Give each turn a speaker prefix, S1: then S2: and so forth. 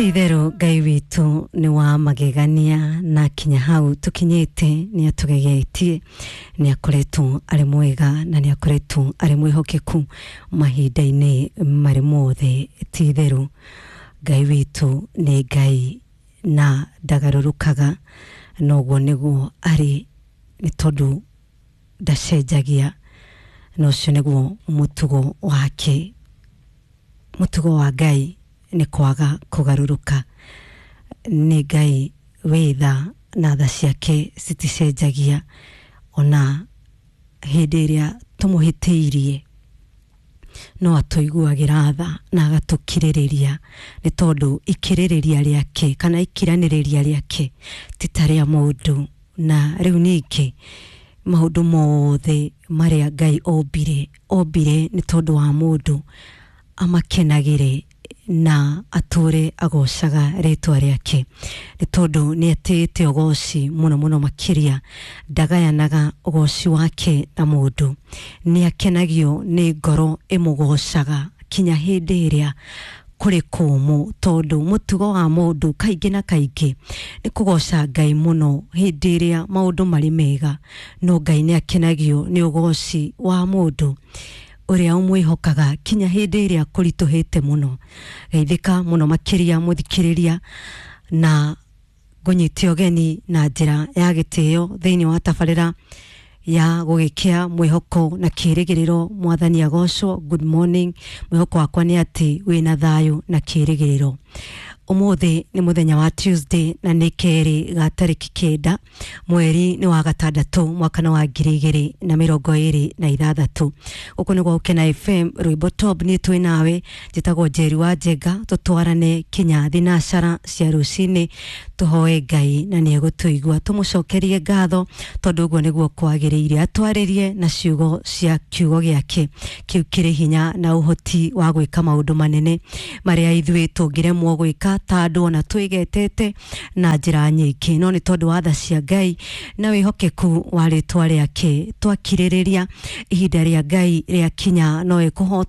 S1: Ti itherũ Ngai witũ nĩ wa magegania na kinya hau tũkinyĩte nĩ atũgegetie, nĩ akoretwo arĩ mwega na nĩ akoretwo arĩ mwĩhokeku mahinda-inĩ marĩ mothe. Ti itherũ Ngai witũ nĩ Ngai na ndagarũrũkaga, na ũguo nĩguo arĩ nĩ tondũ ndacenjagia, na ũcio nĩguo mũtugo wake. Mũtugo wa Ngai nĩ kwaga kũgarũrũka. Nĩ Ngai wĩ tha na tha ciake citicenjagia ona hĩndĩ ĩrĩa tũmũhĩtĩirie, no atũiguagĩra tha na agatũkirĩrĩria, nĩ tondũ ikirĩrĩria rĩake kana ikiranĩrĩria rĩake ti ta rĩa mũndũ. Na rĩu ningĩ maũndũ mothe marĩa Ngai ombire, ombire nĩ tondũ wa mũndũ amakenagĩre na atũre agocaga rĩtwa rĩake, nĩ tondũ nĩ atĩĩte ũgoci mũno mũno makĩria. Ndagayanaga ũgoci wake na mũndũ, nĩ akenagio nĩ ngoro ĩmũgocaga kinya hĩndĩ ĩrĩa kũrĩ kũmũ, tondũ mũtugo wa mũndũ kaingĩ na kaingĩ nĩ kũgoca Ngai mũno hĩndĩ ĩrĩa maũndũ marĩ mega, no Ngai nĩ akenagio nĩ ũgoci wa mũndũ ũrĩa ũmwĩhokaga kinya hĩndĩ ĩrĩa kũritũhĩte mũno. Geithĩka mũno makĩria mũthikĩrĩria, na ngũnyite ũgeni na njĩra ya gĩtĩo thĩinĩ wa tabarĩra ya gũgĩkĩa mwĩhoko na kĩrĩgĩrĩro. Mwathani agocwo. Good morning. Mwĩhoko wakwa nĩ atĩ wĩna thayũ na kĩrĩgĩrĩro. Ũmũthĩ nĩ mũthenya wa Tuesday na nĩ kerĩ ga tarĩki 9 mweri nĩ wa gatandatũ mwaka wa 2026. Gũkũ nĩ gwa Gũkena FM, rwĩmbo top. Niĩ twĩ nawe, njĩtagwo Njeri wa Njenga, tũtwarane kinya thinacara cia rũcinĩ, tũhoe Ngai na nĩ egũtũigua, tũmũcokerie ngatho tondũ ũguo nĩguo kwagĩrĩire, atwarĩrie na ciugo cia kiugo gĩake kĩu kĩrĩ hinya na ũhoti wa gwĩka maũndũ manene marĩa ithuĩ tũngĩremwo gwĩka ta andũ ona twĩgetete na njĩra nyingĩ, no nĩ tondũ wa tha cia Ngai na wĩhokeku wa rĩtwa rĩake twakirĩrĩria ihinda rĩa Ngai rĩakinya no ekũhota.